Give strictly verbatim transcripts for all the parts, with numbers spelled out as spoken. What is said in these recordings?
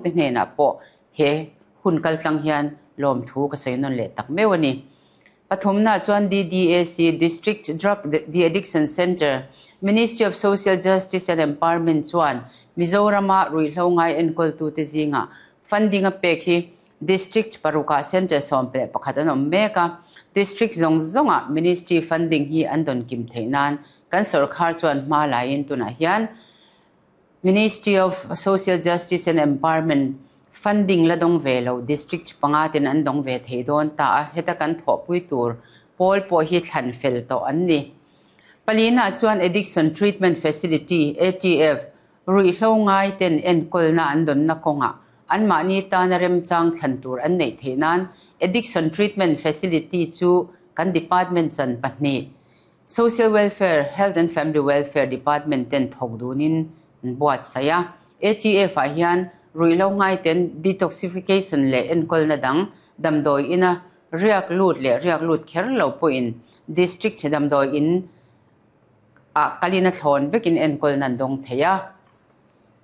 Te hnenah pawh he hun kaltlang hian lawmthu ka sawi nawn leh tak meuh a ni. Pathumna chuan D D A C, District Drug De-Addiction Center, Ministry of Social Justice and Empowerment chuan Mizorama ruihhlo ngai enkawltute zinga funding a pek hi District paruka Center sawm leh pakhat an awm mek a. District zawng zawnga Ministry funding hi an dawn kim theih nan kan sorkar chuan hma lain tunah hian Ministry of Social Justice and Empowerment funding la dawng ve lo district panga ten an dawng ve thei dawn ta a. Heta kan thawhpui tur pawl pawh hi thlan fel tawh an ni. Palina chuan Addiction Treatment Facility, A T F, ruihhlo ngai ten enkawlna an dawnna kawnga an mahni tana remchang thlan tur an neih theih nan Addiction Treatment Facility chu kan department chan pahnih, Social Welfare, Health and Family Welfare Department ten thawk dunin an buatsaih a. A T F ah hian ruihhlo ngai ten detoxification leh enkawlna dang damdawi ina riak lut leh riak lut kher lo pawhin district damdawi in a kalina thlawn vekin enkawl nan dawng thei a.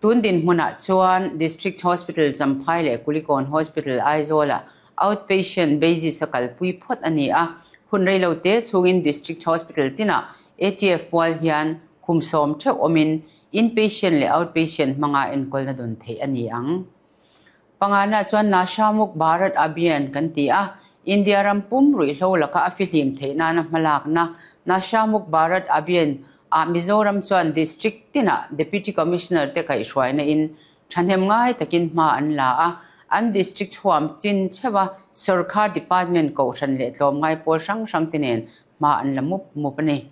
Tun din hmunah chuan District Hospital Champhai leh Kulikawn Hospital Aizawla outpatient basis a kalpui phawt a ni a. Hun reilo te chungin District Hospital tina A T F pual hian khum sawm theuh awmin inpatient leh outpatient hmanga enkawlna dawn theih a ni ang. Pangana chuan Nasha Muk Bharat Abhiyan kan ti a. India ram pum ruihhlo laka a fihlim theih nana hmalakna Nasha Muk Bharat Abhiyan a Mizoram chuan district tina Deputy Commissioner te kaihhruaina in thahnem ngai takin hma an la a. An district huam chin chewa sarkar department kohhran leh tlawm ngai pawl hrang hrang te nen hma an la mup mup ani.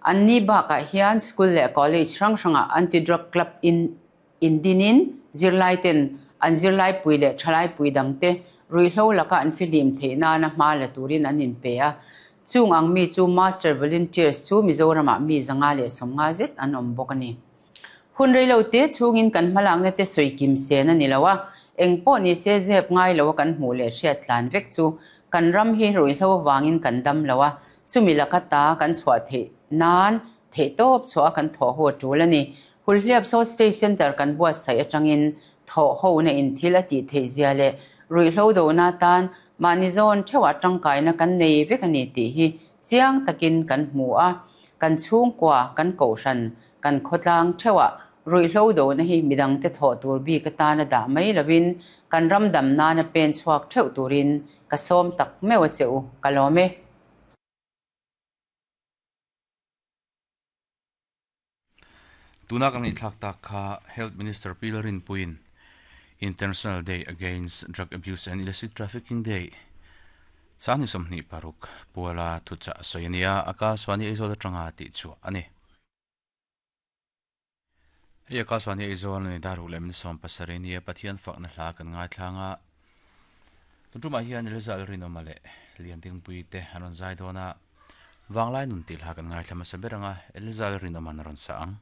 An ni bakah hian school leh college hrang hranga anti drug club in indinin zirlai ten an zirlai pui leh thalai pui dangte ruihhlo laka an fihlim theih nana hma la turin an in pe a. Chung ang mi chu master volunteers chu Mizoramah mi zanga leh sawmnga zet an awm bawk ani. Hun reilo te chungin kan hmalakna te sawi kim sen ani lo a. Engpawh ni se zep ngai lo kan hmuh leh hriat tlan vek chu kan ram hi ruihhlo wangin kan dam lo a. Chumi laka ta kan chhuah theih nan theih tawp chhuah kan thaw ho tul ani. Hulhliap South State Center kan buatsaih atangin thaw ho na in thil a ti theih zia leh ruihhlo do na tan mahni zawn theuh tangkaina kan nei vek ani tih hi chiang takin kan hmu a. Kan chhungkua, kan kohhran, kan khawtlang theuha ruihhlo do na hi midang te thaw tur bi ka tana dah mai lovin kan ram dam nana pen chhuak theuh turin ka sawm tak meuh a cheu. Ka lawm e. Tuna kan ngaihthlak tak kha Health Minister Pi Lalrinpuiin International Day Against Drug Abuse and Illicit Trafficking Day sangni sawmhnih paruk puala thuchah sawi ania. Akashvani Aizawl atanga tih chhuah ani. Hei Akashvani Aizawl ani, dar ruk leh min sawm pasarih nia. Pathian fakna hla kan ngaithlanga. Tuntumah hian Elza Rinawma leh Liandingpui te an rawn zai dawn a. Vanglai nun tih hla kan ngaithla hmasa ber anga. Elza Rinawma an rawn sa ang.